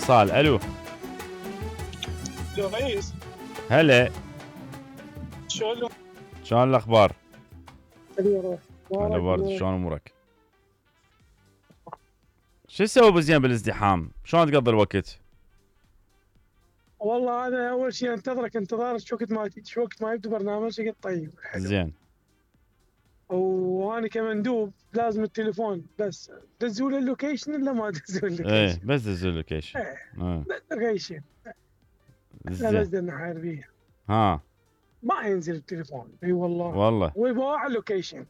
اتصال. الو يا ريس هلا، شلون؟ شلون الاخبار؟ هلا ورد، شلون امورك؟ شو تسوي بزين بالازدحام؟ شلون تقضي الوقت؟ والله انا اول شيء انتظرك انتظار شو وقت ما يبدو برنامجك الطيب حلو. زين. وانا كمندوب لازم التليفون بس دزوا لي اللوكيشن الا ما دزوا لي ايه اللوكيشن. بس دزوا اللوكيشن. اللوكيشن زين. لازم نحارب بيه. ها ما ينزل التليفون. اي والله ويبغى على اللوكيشن.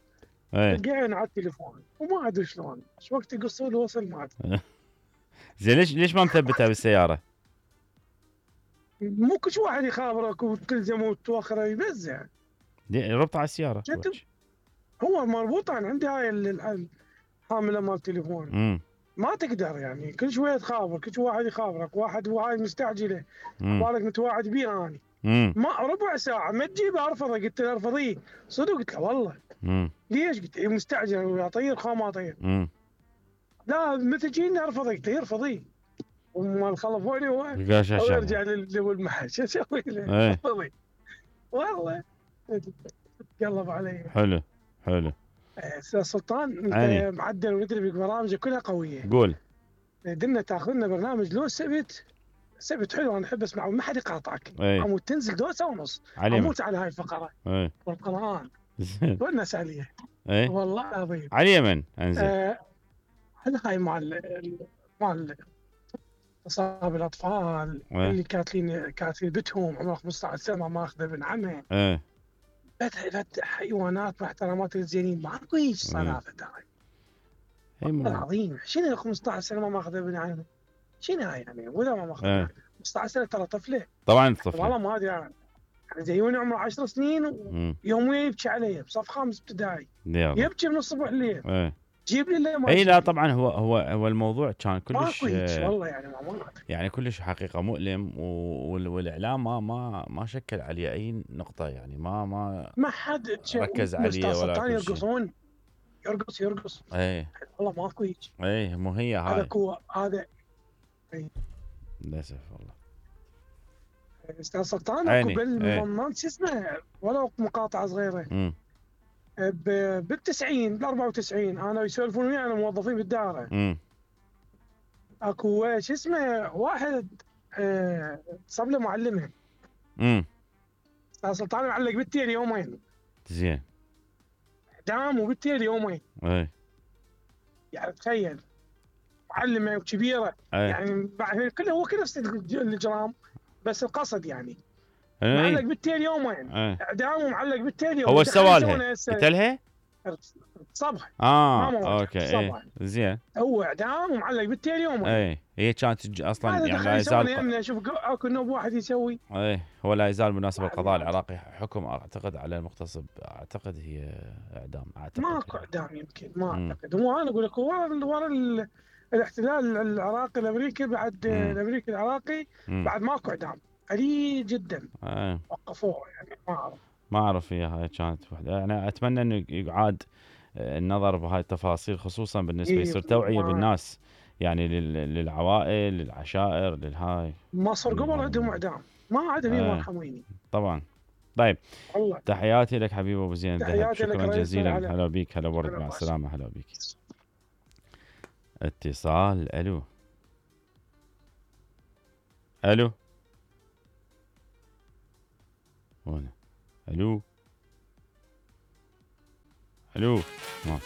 ايه تلقين على التليفون وما ادري شلون شو وقت يقصوا له وصل ما ادري. زين ليش ما مثبتها بالسياره؟ مو كل واحد يخابرك وتلزم وتوخره يبزع. ربطها على السياره. هو مربوط عندي هاي الحامله مال التليفون. ما تقدر يعني كل شويه تخابر، كل واحد يخابرك، واحد وهاي مستعجله بالك متواعد بيه اني. ما ربع ساعه ما تجيبه ارفضه. قلت له ارفضيه صدق. قلت له والله ليش؟ قلت له مستعجل ويطير خا طير. لا متى جينا ارفضه. قلت له ارفضيه وما خلفوني هو يرجع للمحل. شو اسوي له؟ ارفضي والله قلب علي. حلو استاذ سلطان انت معدل ومدري برامجك كلها قويه. قول. دنا تاخذ لنا برنامج لو سبت حلو. انا احب اسمعه ما حد يقاطعك. عمود تنزل دوسه ونص اموت على هاي الفقره والقران ونس عليه. والله العظيم على اليمن انزل. هاي مال اصحاب الاطفال اللي كاتلين بتهم عمره 15 سنه ما اخذه ابن عمه. فتح حيوانات محترمات الزينين ماكو هيك صرافه ترى. والله العظيم شنو 15 سنه ما ماخذ ابن عمه؟ شنو هاي يعني؟ ولا ما ماخذ 15 سنه ترى طفله. طبعا طفله. والله ما ادري يعني زيوني عمره 10 سنين ويوميا يبكي علي بصف خامس ابتدائي. يبكي من الصبح الليل. جيب لي اللي ما اي لا طبعا هو الموضوع كان كلش والله يعني كلش حقيقه مؤلم والاعلام ما شكل عليه اي نقطه يعني ما حد ركز عليه ولا كل شيء. يرقص والله ماكو هيك. مو هي هاي هذا للاسف والله. استاذ سلطان اكو ما شو اسمه ولو مقاطعه صغيره. بال90 بال94 انا يسولفون وياي انا موظفين بالدائره. اكو شو اسمه واحد صاب له معلمه. استاذ سلطان معلق بالتير يومين. زين. اعدام وبالتير يومين. يعني تخيل معلمه وكبيره. يعني هو كل نفس الاجرام بس القصد يعني. معلق بالتيل يومين. اعدام ومعلق بالتيل يومين. هو ايش سوى لها؟ قتلها؟ صبح. اوكي زين. هو اعدام ومعلق بالتيل يومين. هي كانت اصلا يعني لا يزال شوف اكو نوب واحد يسوي. هو لا يزال بالمناسبه القضاء العراقي حكم اعتقد على المغتصب اعتقد هي اعدام ماكو اعدام يمكن ما اعتقد. هو انا اقول لك ورا الاحتلال العراقي الامريكي بعد الامريكي العراقي بعد ماكو اعدام قليل جدا. وقفوه يعني ما اعرف هي هاي كانت وحده. انا اتمنى انه يعاد النظر بهاي التفاصيل خصوصا بالنسبه يصير توعيه بالناس يعني للعوائل للعشائر للهاي. مصر قبل عندهم اعدام ما عاد هي مرحميني طبعا. طيب الله. تحياتي لك حبيبي ابو زين الذهب. شكرا جزيلا. هلا بيك. هلا ورد مع السلامه. هلا بيك. اتصال. الو هنا. الو ما